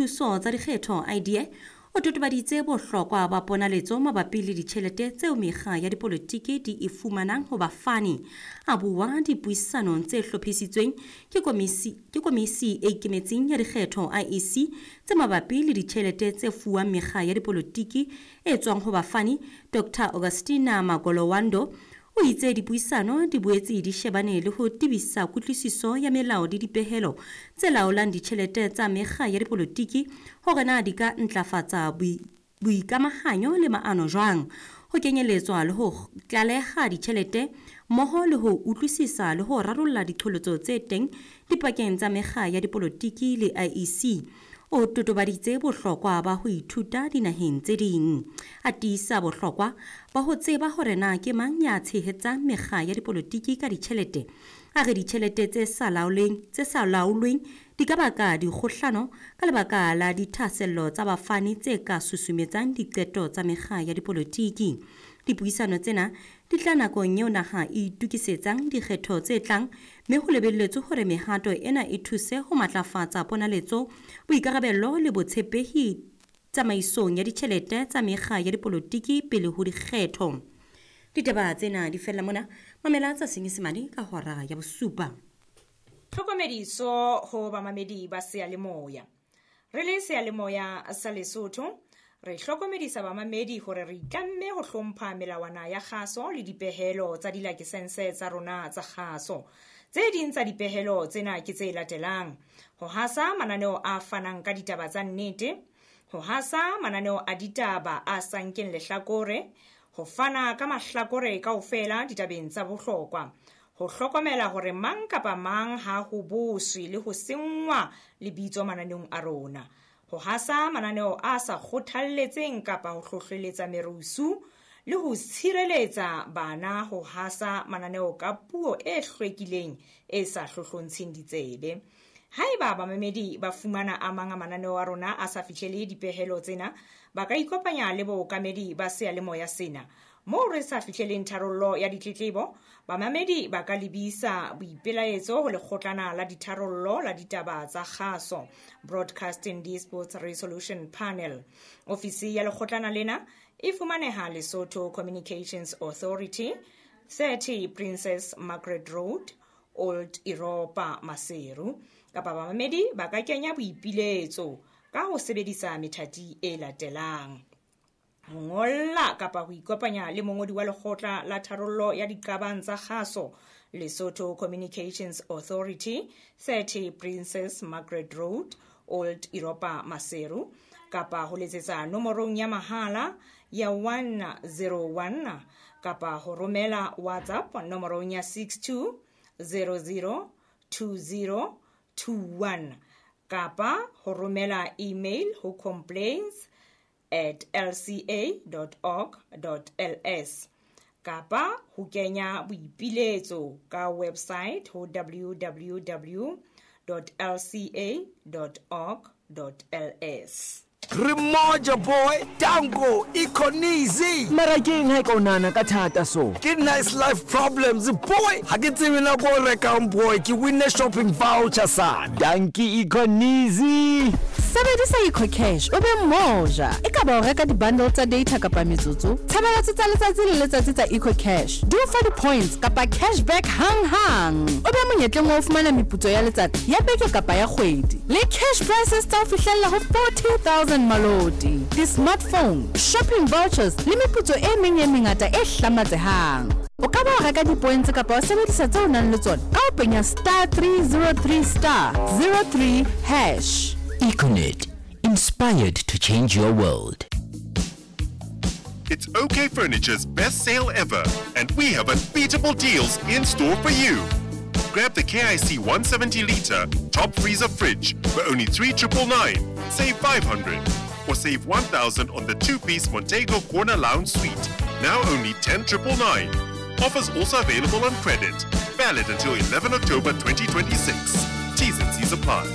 Thuso tsa dikgetho IDA o totobaditse bohlokwa ba ponaletso mabapi le ditjhelete tseo mekga ya dipolotiki di e fumanang ho bafani. A bua dipuisanong tse hlophisitsweng ke komisi e ikemetseng ya dikgetho IEC tse mabapi le ditjhelete tse fuwang mekga ya dipolotiki e tswang ho bafani, Dr. Augustina Magolowando o itse dipuisano di boetse di shebane le ho tebisa kutlwisiso ya melao le dipehelo tse laolang ditjhelete tsa mekga ya dipolotiki hore na di ka ntlafatsa boikamahanyo le maano jwang, ho kenyeletswa le ho tlaleha ditjhelete mmoho le ho utlwisisa le ho rarolla diqholotso tse teng dipakeng tsa mekga ya dipolotiki le IEC. O totobaditse bohlokwa ba ho ithuta dinaheng tse ding. A tiisa bohlokwa ba ho tseba hore na ke mang ya tshehetsang mekga ya dipolotiki ka ditjhelete. A re ditjhelete tse sa laolweng di ka baka dikgohlano ka lebaka la dithahasello tsa bafani tse ka susumetsang diqeto tsa mekga ya dipolotiki. Dipuisano tsena di tla nakong eo naha e itokisetsang dikgetho tse tlang, mme ho lebelletswe hore mehato ena e thuse ho matlafatsa ponaletso, boikarabello le botshepehi tsamaisong ya ditjhelete tsa mekga ya dipolotiki pele ho dikgetho. Ditaba tsena di fella mona, mamela tsa Senyesemane ka hora ya bosupa. Tlhokomediso ho bamamedi ba seyalemoya. Re le seyalemoya sa Lesotho, re hlokomedisa bamamedi hore re itlamme ho hlompha melawana ya kgaso le dipehelo tsa dilakesense tsa rona tsa kgaso. Tse ding tsa dipehelo tsena ke tse latelang: ho hasa mananeo a fanang ka ditaba tsa nnete, ho hasa mananeo a ditaba a sa nkeng lehlakore, ho fana ka mahlakore kaofela ditabeng tsa bohlokwa, ho hlokomela hore mang kapa mang ha ho boswe le ho senngwa lebitso mananeong a rona, ho hasa mananeo a sa kgothalletseng kapa ho hlohleletsa merusu, le ho tshireletsa bana ho hasa mananeo ka puo e hlwekileng e sa hlohlontsheng ditsebe. Haeba bamamedi ba fumana a mang a mananeo a rona a sa fihlele dipehelo tsena, ba ka ikopanya le bookamedi ba seyalemoya sena. Moo re sa fihleleng tharollo ya ditletlebo, bamamedi ba ka lebisa boipelaetso ho lekgotlana la ditharollo la ditaba tsa kgaso, Broadcasting Disputes Resolution Panel. Ofisi ya lekgotlana lena e fumaneha Lesotho Communications Authority, 30 Princess Margaret Road, Old Europa, Maseru. Kapa bamamedi ba ka kenya boipiletso ka ho sebedisa methati e latelang: ho ngolla kapa ho ikopanya le mongodi wa lekgotla la tharollo ya diqabang tsa kgaso, Lesotho Communications Authority, 30 Princess Margaret Road, Old Europa, Maseru, kapa ho letsetsa nomorong ya mahala ya 101, kapa ho romela WhatsApp nomorong ya 62002021, kapa ho romela email ho complaints@lca.org.ls, kapa ho kenya boipiletso ka website ho www.lca.org.ls. Re moja boy, Tango, Econizi. Mara keng ha e ka o nahana ka thata so? Ke nice life problems boy. Ha ke tsebe nako o rekang boy, ke winne shopping voucher son. Dankie Econizi. Sebedisa EcoCash o be moja. E ka ba o reka di-bundle tsa data kapa metsotso, tshebeletso tsa letsatsi le letsatsi tsa EcoCash di o fa di-points kapa cashback hang-hang. O be monyetleng wa ho fumana meputso ya letsatsi, ya beke kapa ya kgwedi, le cash prizes tsa ho fihlella ho 40,000 maloti, di-smartphone, shopping vouchers le meputso e meng e mengata e hlamatsehang. O ka ba wa reka di-points kapa wa sebedisa tseo o nang le tsona ka ho penya star 303 star 03 hash. Econet, inspired to change your world. It's OK Furniture's best sale ever, and we have unbeatable deals in store for you. Grab the KIC 170 litre top freezer fridge for only 3,999, save 500, or save 1,000 on the 2-piece Montego Corner Lounge Suite, now only 10,999. Offers also available on credit. Valid until 11 October 2026. T's and C's apply.